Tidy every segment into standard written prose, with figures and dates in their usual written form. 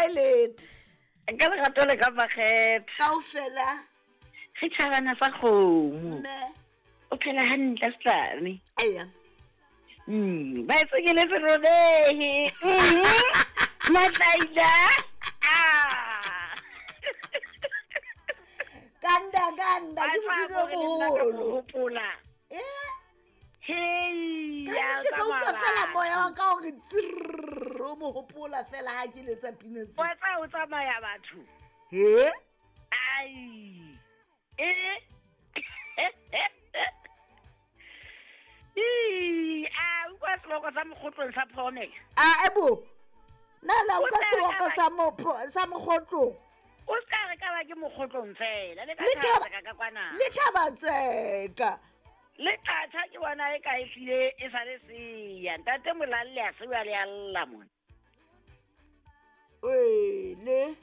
kae lete? Ka lerato le ka makgethe. Kaofela. Re tšhabana sa kgomo. Mme. O phela hantle setlane. Eya. Baesekele se robehe. Matlaila. Ah. Kanda kanda ke modimo o moholo. Hopola. Eh? Hei, Ka ya nnete ka utlwa tsamaya fela batho. moya wa ka gore tsirr o mo hopola fela ha ke letsa pina tse. Wa tsaya o tsamaya batho. He? Ai. Eh. Ii, a utlwa seloko sa mokgotlong sa phomela. A ebo. Na la O utlwa tla re seloko ka sa mopho sa mokgotlong. O se ka re ka ba ke mokgotlong fela le ka Le thaba thaba- ka ka kwana. Le thaba tseka. Le thatha ke bona e ka e hlile e sa le seya. Ntate Molalle a se wa le a lla mona. Wele.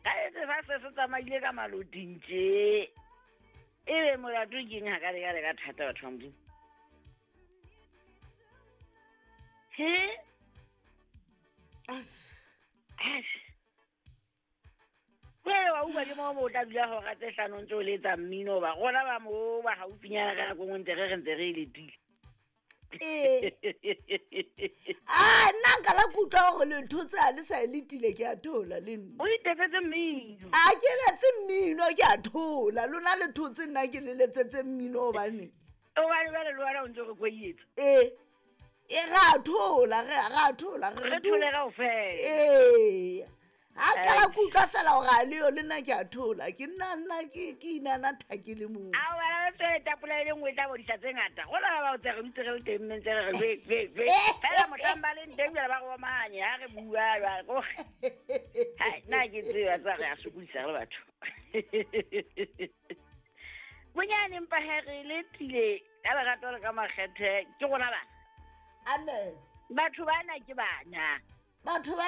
Ka etse sa se se tsamaile ka maloting tje. Ebe molato ke eng ha ka le ka le ka thata batho ba Modimo. He? Ash. Ash. Jwale wa utlwa ke moo mo o tla dula hora tse hlano ntse o letsa mmino hoba rona ba moo ba haufinyana ka nako e nngwe ntse re re ntse re e letile. Ee. A nna nka la kutlwa gore le thotse ha le sa e letile ke a thola le nna. O itetsetse mmino. A ke letse mmino ke a thola. Lona le thotse nna ke le letsetse mmino hobane. Hobane jwale le wena o ntso re koietsa. Ee. E ra thola re ra thola Re thole kaofela. Ee. Ha ka la kutlwa fela hore a leyo le nna ke a thola. Ke nna nna ke ke inana thake le mong. A wena le tswele tapola e le nngwe e tla bodisa tse ngata. Rona ba ba tse re dutse re le teng mme ntse re re ve ve ve. Fela mohlang ba leng teng jwale ba re omanye ha re bua jwale ko. Hai, nna ha ke tsebe tsa re a sokodisa re le batho. Bonyane empa he re letile ka lerato le ka makgethe ke rona bana. Amen. Batho bana ke bana. Batho bana